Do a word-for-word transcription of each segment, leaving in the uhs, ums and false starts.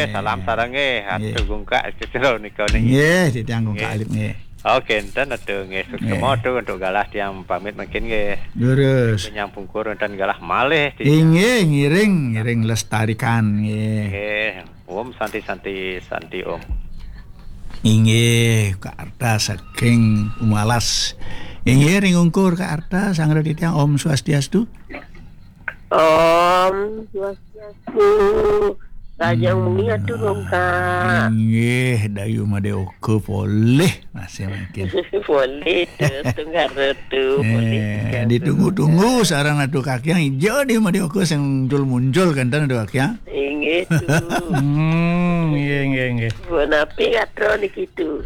Salam sareng nggih, Atu Gungkak Cicero nika ning. Nggih, titiang Gungkak Alit nggih. Oke, enten Atu nggih. Suksma Atu untuk galah tiang pamit mangkin nggih. Nyambung pungkur enten galah malih titiang. Inggih, ngiring, ngiring lestarikan nggih. Nggih. Om Santi, Santi, Santi Om. Inggih, Kak Arta saking Umalas. Inggih, ring ungkur Kak Arta, sanggra titiang Om Swastiastu. Om Swastiastu. Rahajeng wengi Atu Gungkak. Inggih, Dayu Made Oka polih masih mangkin. Polih terus tunggal tu, polih. Eh, ditunggu-tunggu sareng Atu Kakiang ijo Dayu Made Oka sing muncul-muncul kenten Atu Kakiang. Inggih tu. Hmm, inggih, inggih, inggih. Punapi gatra niki tu.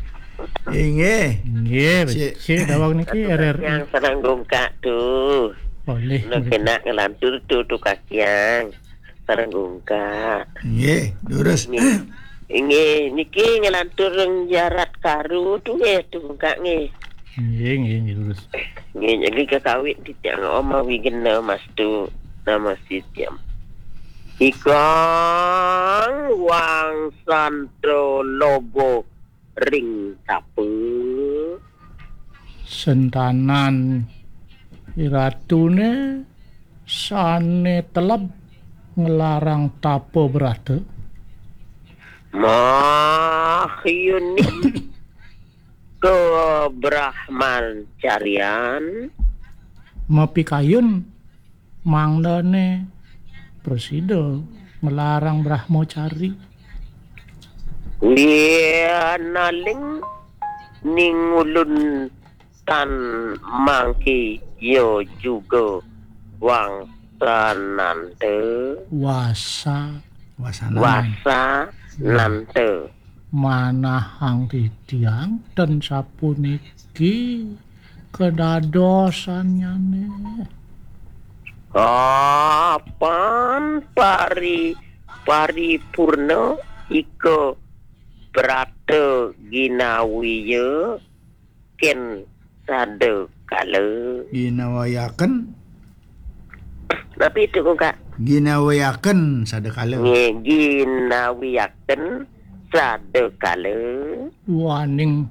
Inggih. Nggih, becik daweg niki R R I. Yang sareng Gungkak tu. Polih. Nak kena ngelantur tu Atu Kakiang. Sareng Gungkak. Nggih, durus. Nggih. Inggih, niki ngelantur ring Jarat Karu tu nggih, Atu Gungkak nggih. Nggih, nggih, nggih, durus. Nggih, niki kakawit titiang Om Awigena Mastu nama sitiam. Ikang wangsanto logo ring tapa. Sentanan iratune sane teleb nglarang tapa brata. Mahyuni kebrahmacarian. Mapikayun mangdane prasida nglarang brahmacari. Yanaling ningulun tan mangki ya juga wangsananta. Wasa. Wasanan. Wasananta. Manahang titiang ten sapuniki kedadosanyane. Kapan pari-, paripurna ika brata ginawiya ken sada kala. Ginawiyaken. Napi itu, Kak? Ginawiyaken sada kala. Nggih, ginawiyaken sada kala. Duaning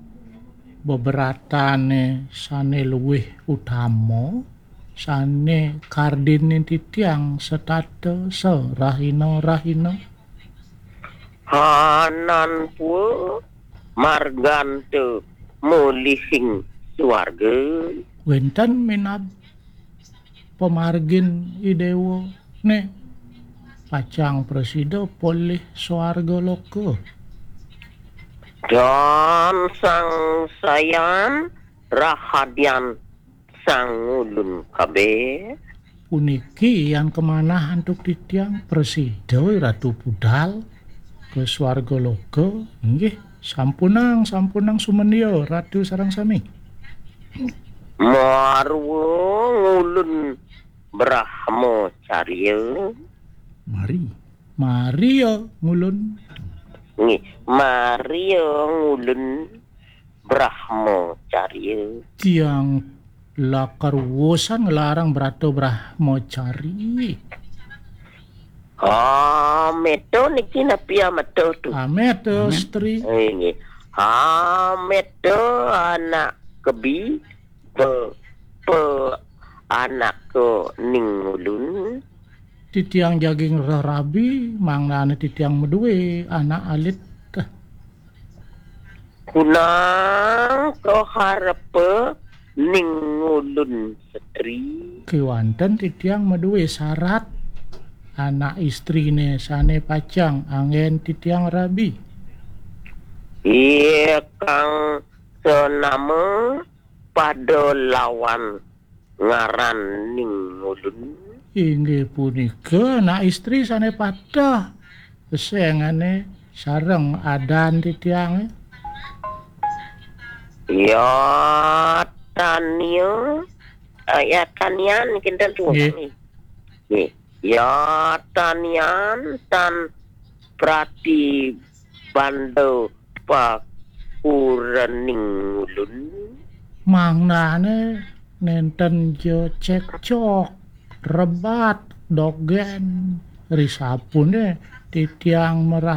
bebratane sane luwih utama, sane kardine titiang setata sarahina-rahina. Hananpua marganta mulihing swarga. Wenten minab pamargin Idewa ne pacang prasida polih swarga loka. Dan sangsayan rahadian sangulun kabeh. Puniki yan kamanah antuk titiang prasida Ratu budal ka swarga loka. Inggih, sampunang, sampunang sumendia Ratu sareng sami. Marwa ngulun brahmacariya. Mari. Mari ya ngulun. Nggih, mari ya ngulun brahmacariya. Tiang lakar wusan nglarang brata brahmacari. Ameta niki napi ameta tu? Ameta, Amet. Istri. Eh, nggih. Ameta anak kebi pe, pe anak ke ning ulun. Titiang jagi ngrereh rabi, mangdane titiang madue anak alit. Kunang kaharepa ning ulun setri. Kewanten titiang madue sarat anak istrine sane pacang anggen titiang rabi. Iya kang senama pada lawan ngaran ning ulun. Inggih punika anak istri sane pateh sengane sareng adan titiange. Ya tania, eh, ya tanian kinten tu. Nggih. Nggih. Ya tanian tan prati banda pakuraning ulun. Mangdane nenten ja cekcok, rebat, dogen, risapune titiang merah